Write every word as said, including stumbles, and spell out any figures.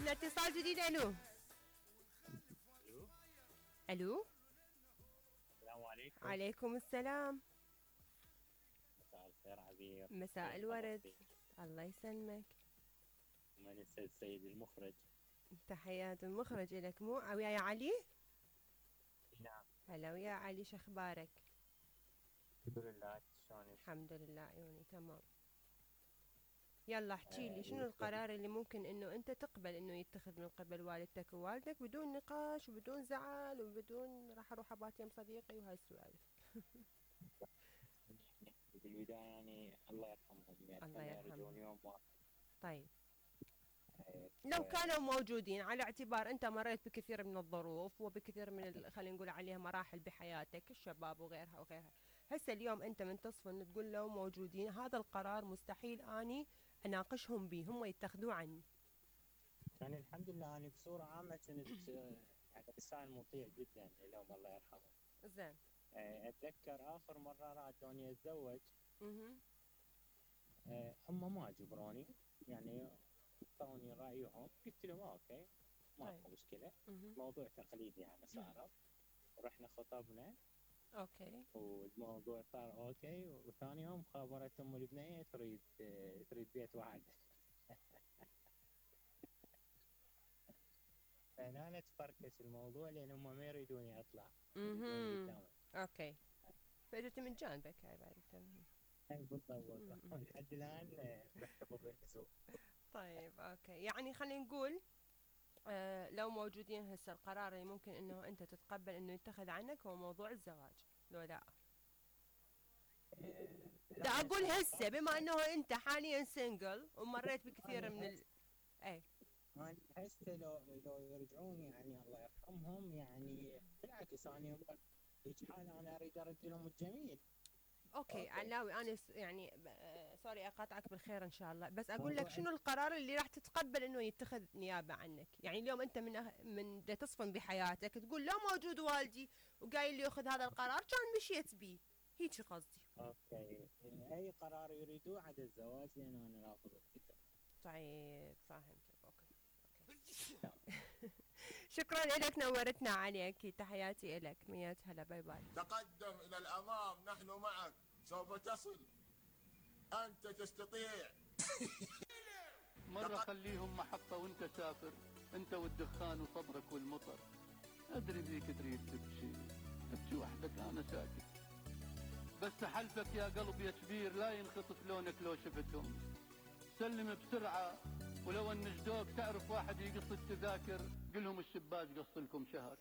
عندنا اتصال جديد. الو الو الو السلام عليكم. عليكم السلام. مساء الخير عبير. مساء كيف الورد. حضرتك؟ الله يسلمك. من السيد السيد المخرج. تحيات المخرج لك. مو وياي علي؟ نعم. هلا ويا علي، شخبارك؟ الحمد لله، شلونك؟ الحمد لله عيوني تمام. يلا احكي لي، آه شنو القرار اللي ممكن انه انت تقبل انه يتخذ من قبل والدتك ووالدك بدون نقاش وبدون زعل وبدون راح اروح ابات يم صديقي وهاي السوالف. بالبداية يعني الله يرحمهم، يعني الله أتمنى يرجعون يرحمهم. يوم واحد. طيب آه، لو كانوا موجودين، على اعتبار انت مريت بكثير من الظروف وبكثير من ال- خلينا نقول عليها مراحل بحياتك، الشباب وغيرها وغيرها. هسه اليوم انت من تصفن تقول لو موجودين هذا القرار مستحيل اني اناقشهم به، هم يتخذوه عني. يعني الحمد لله أنا بصورة عامة كنت آه، يعني إنسان مطيع جدا لهم الله يرحمهم. زين. آه، أتذكر آخر مرة رادوني أتزوج. اها. آه، هم ما جبروني، يعني اعطوني رأيهم، قلت لهم اوكي طيب. ماكو مشكلة. اها. موضوع تقليدي يعني صار. رحنا خطبنا اوكي. والموضوع صار اوكي، وثاني يوم خابرت ام البنية تريد تريد بيت واحد. فهنا تفركش الموضوع لان هم ما يريدوني اطلع، يريدوني اها. قدامهم. اوكي. فاجت من جانبك هاي بعد تمام. هاي بالضبط. مهم. لحد الان آه، محتفظ بالاسم. طيب اوكي، يعني خلينا نقول آه لو موجودين هسه القرار اللي ممكن انه انت تتقبل انه يتخذ عنك هو موضوع الزواج، لو لا؟ دا لا اقول هسه صار بما انه انت حاليا سنجل ومريت بكثير من انا ال... اي. انا هسه لو لو يرجعون يعني الله يرحمهم، يعني بالعكس انا هيك حال انا اريد ارد لهم الجميل. اوكي اوكي. علاوي انا س... يعني آه سوري اقاطعك بالخير ان شاء الله، بس اقول لك موضوع شنو القرار اللي راح تتقبل انه يتخذ نيابه عنك. يعني اليوم انت من أه... من دا تصفن بحياتك تقول لو موجود والدي وقايل لي ياخذ هذا القرار كان مشيت بيه، هيك قصدي. اوكي، اي قرار يريدوه عدا الزواج لان انا رافض الفكره. طيب فهمتك. اوكي. نعم. شكرا لك، نورتنا عليك، تحياتي لك، مية هلا، باي باي. تقدم إلى الأمام، نحن معك، سوف تصل، أنت تستطيع. مرة خليهم محطة وانت سافر، انت والدخان وصبرك والمطر. ادري ذيك تريد تبكي، ابكي وحدك انا ساكت. بس حلفك يا قلب يا كبير لا ينخطف لونك لو شفتهم. سلم بسرعة، ولو ان جدوك تعرف واحد يقص التذاكر قلهم الشباك قص لكم شهر.